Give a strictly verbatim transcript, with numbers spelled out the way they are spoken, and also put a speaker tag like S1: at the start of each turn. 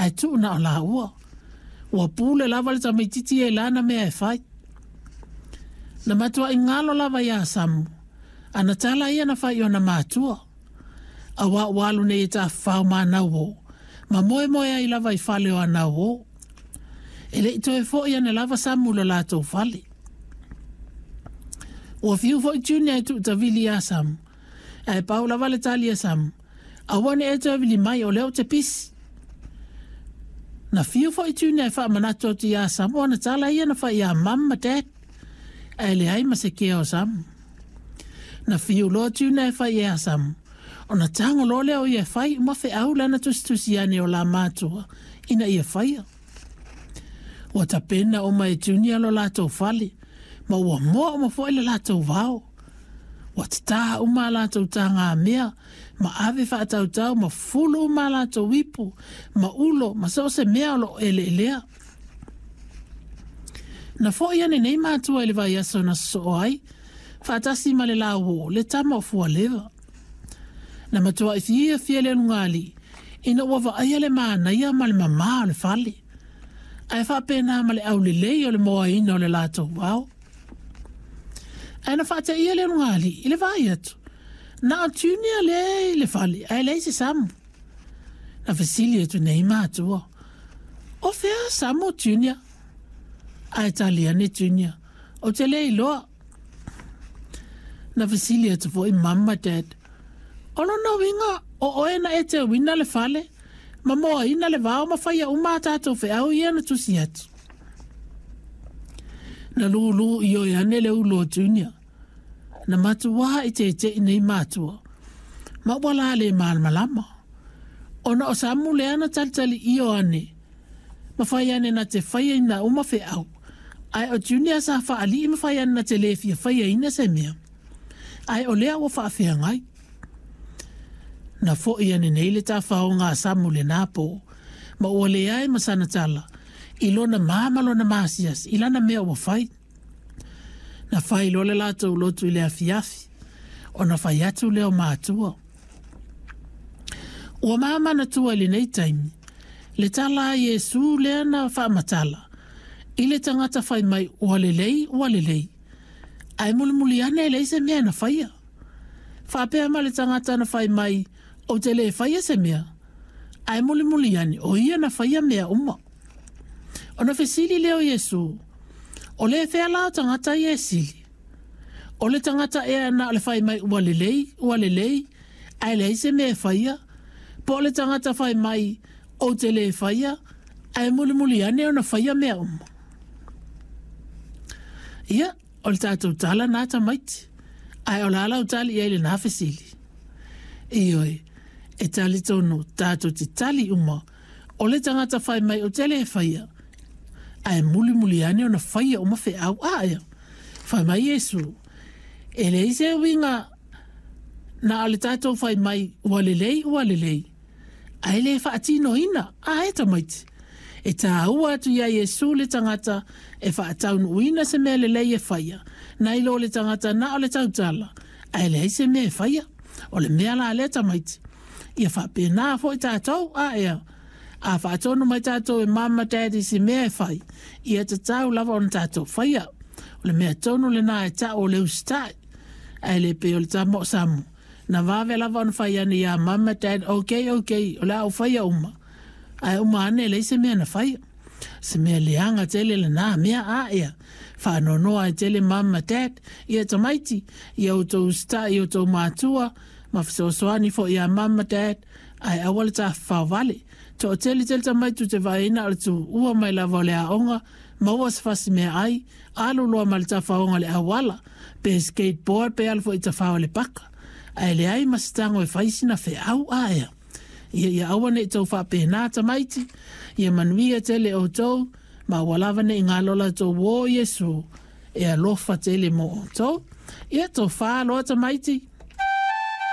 S1: Ae tuu na o laua. Ua pule lava le tamaitiiti ia i lana mea e fai. Na matuai galo lava ia Samu ana tala ia na fai i ona matua. Auā ua alu nei e tafafao ma ana uō, ma moemoe ai lava i fale o ana uō. E le i toe fo'i ane lava Samu i lo latou fale. Ua fiu foi Junior e tuutavili iā Samu, ae pau lava le tali a Samu, Aua ne i e toe vili mai o lea ou te pisi. Na fiu foi Junior e faamanatu atu iā Samu ana tala ia na fai iā Mum ma Dad, ae leai ma se kea o Samu. Na fiu loa Junior e fai iā Samu, ona tago loa lea o ia e fai uma feau lana tusitusi ane o la matua ina ia faia. Ua tapena uma e Junior lo latou fale, ma ua moa uma foi le latou vao. Ua tatā uma a latou tagamea, ma ave faatautau ma fulu uma a latou ipu, ma ulo, ma so o se mea o lo o eleelea. Na fo'i ane nei matua i le vaiaso na sosoo ai, faatasi ma le lauoo, le tama o Fualeva. Na matuai fiafia le ulugalii ina ua vaaia le manaia ma le mamā o le fale, ae faapena ma le aulelei o le moaina o le latou vao. Ae na faateia le ulugalii i le vaai atu, na o Junior lea i le fale ae leai se Samu. Na fesili atu nei matua, O fea Samu Junior? Ae tali ane Junior, Ou te le iloa. Na fesili atu foi Mum ma Dad, O lona uiga o oe na e teuina le fale, ma moaina le vao ma faia uma a tatou feau ia na tusi atu. Na lūlū ioe ane le ulu o Junior. Na matuā i teteʻi nei matua, ma ua la le malamalama. Ona o Samu lea na talitali io ane, ma fai ane na te faiaina uma feau, ae o Junior sa faalii ma fai ane na te le fia faiaina se mea, ae o lea ua faafeagai. Na fo'i ane nei le tafaoga a Samu lenā pō, ma ua leai ma sana tala i lona mā ma lona maasiasi i lana mea ua fai. Na fai loa le latou lotu i le afiafi, ona fai atu lea o matua. Ua mamanatua i lenei taimi le tala a Iesu lea na faamatala i le tagata fai mai ua lelei, ua lelei, ae mulimuli ane e leai se mea na faia. Faapea ma le tagata na fai mai ou te le faia se mea, ae mulimuli ane o ia na faia mea uma. Ona fesili lea o Iesu, O le fea la o tagata ia e sili? O le tagata ea na o le fai mai ua lelei, ua lelei, ae leai se mea e faia, po o le tagata fai mai ou te le faia, ae mulimuli ane ona faia mea uma? Ia, o le tatou tala na tamaiti, ae o le a lau tali i ai lenā fesili? Ioe, e talitonu tatou te tali uma, o le tagata fai mai ou te le faia, ae mulimuli ane ona faia uma feau. A ea, fai mai Iesu, e leai se uiga na o le tatou fai mai ua lelei, ua lelei, ae le faatinoina. A e tamaiti, e tāua atu iā Iesu le tagata e faataunuuina se mea lelei e faia, nai lo le tagata na o le tautala, ae leai se mea e faia. O le mea la lea tamaiti, ia faapena foi tatou. A ea, a faatonu mai tatou e Mum ma Dad i se mea e fai, ia tatau lava ona tatou faia. O le mea tonu lenā e ta'u o le usitai. Ae le pei o le tama o Samu, na vave lava ona fai ane iā Mum ma Dad, Ok, ok, o le a ou faia uma. Ae uma ane e leai se mea na faia. Se mea leaga tele lenā mea, a ea, faanoanoa ai tele Mum ma Dad, ia tamaiti, ia outou usitai i outou matua, ma fesoasoani foi iā Mum ma Dad, ae aua le tafafao vale. Toatele tele tamaiti ou te vaaiina o le tuua mai lava o le aoga, maua se fasi meaai, alu loa ma le tafaoga i le auala, pe skateboard pe alu foi i tafao i le paka. Ae leai ma se tago e fai sina feau a ea. Ia ia aua ne i tou faapena tamaiti, ia manuia tele outou, ma ua lava ne i galo la outou uō Iesu e alofa tele mo outou. Ia tofa loa tamaiti.